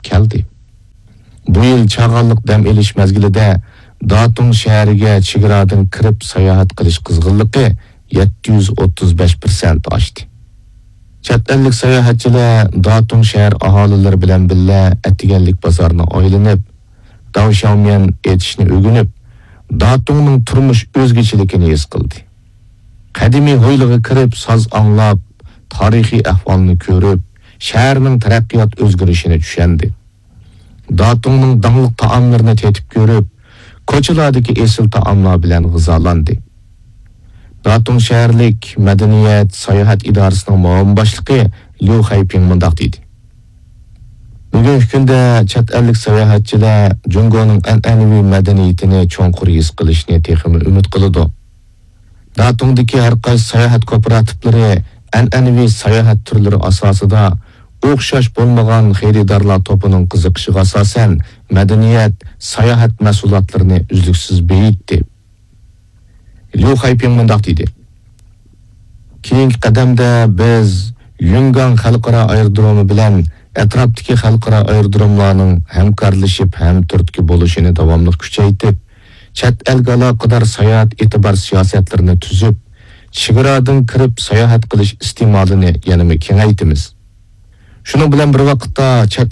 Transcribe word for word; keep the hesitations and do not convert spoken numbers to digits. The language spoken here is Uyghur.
كەلدى. بۇ يىل چاغانلىق دەم ئېلىش مەزگىلىدە داتۇڭ شەھىرىگە چېگرادىن كىرىپ ساياھەت قىلىش قىزغىنلىقى يەتتە يۈز ئوتتۇز بەش پىرسەنت ئاشتى. چەت ئەللىك ساياھەتچىلەر داتۇڭ شەھەر ئاھالىلىرى بىلەن بىللە ئەتىگەنلىك بازارنى ئايلىنىپ، داۋشياۋميەن ئېتىشنى ئۆگىنىپ، داتۇڭنىڭ تۇرمۇش ئۆزگىچىلىكىنى ھېس قىلدى. قەدىمىي ھويلىغا كىرىپ ساز ئاڭلاپ، تارىخىي ئەھۋالنى كۆرۈپ، شەھەرنىڭ تەرەققىيات ئۆزگىرىشىنى چۈشەندى. داتۇڭنىڭ داڭلىق تائاملىرىنى تېتىپ كۆرۈپ، كوچىلاردىكى ئېسىل تائاملار بىلەن غىزالاندى. داتۇڭ شەھەرلىك مەدەنىيەت، ساياھەت ئىدارىسىنىڭ مۇئاۋىن باشلىقى ليۇ خەيپىڭ مۇنداق دېدى: بۈگۈنكى كۈندە چەت ئەللىك ساياھەتچىلەر جۇڭگونىڭ ئەنئەنىۋى مەدەنىيىتىنى چوڭقۇر ھېس قىلىشنى تېخىمۇ ئۈمىد قىلىدۇ. داتۇڭدىكى ھەر قايسى ساياھەت كوپىراتىپلىرى ئەنئەنىۋى ساياھەت تۈرلىرى ئاساسىدا ئوخشاش بولمىغان خېرىدارلار توپىنىڭ قىزىقىشىغا ئاساسەن مەدەنىيەت، ساياھەت مەھسۇلاتلىرىنى ئۈزلۈكسىز بېيىتتى. ليۇ خەيپىڭ مۇنداق دېدى: كېيىنكى قەدەمدە بىز يۈنگاڭ خەلقئارا ئايرودرومى بىلەن ئەتراپتىكى خەلقئارا ئايرودروملارنىڭ ھەمكارلىشىپ ھەم تۈرتكە بولۇشىنى داۋاملىق كۈچەيتىپ، چەت ئەلگە ئالاقىدار ساياھەت ئېتىبار سىياسەتلىرىنى تۈزۈپ، چېگرادىن كىرىپ ساياھەت قىلىش ئىستېمالىنى يەنىمۇ كېڭەيتىمىز. شۇنىڭ بىلەن بىر ۋاقىتتا، چەت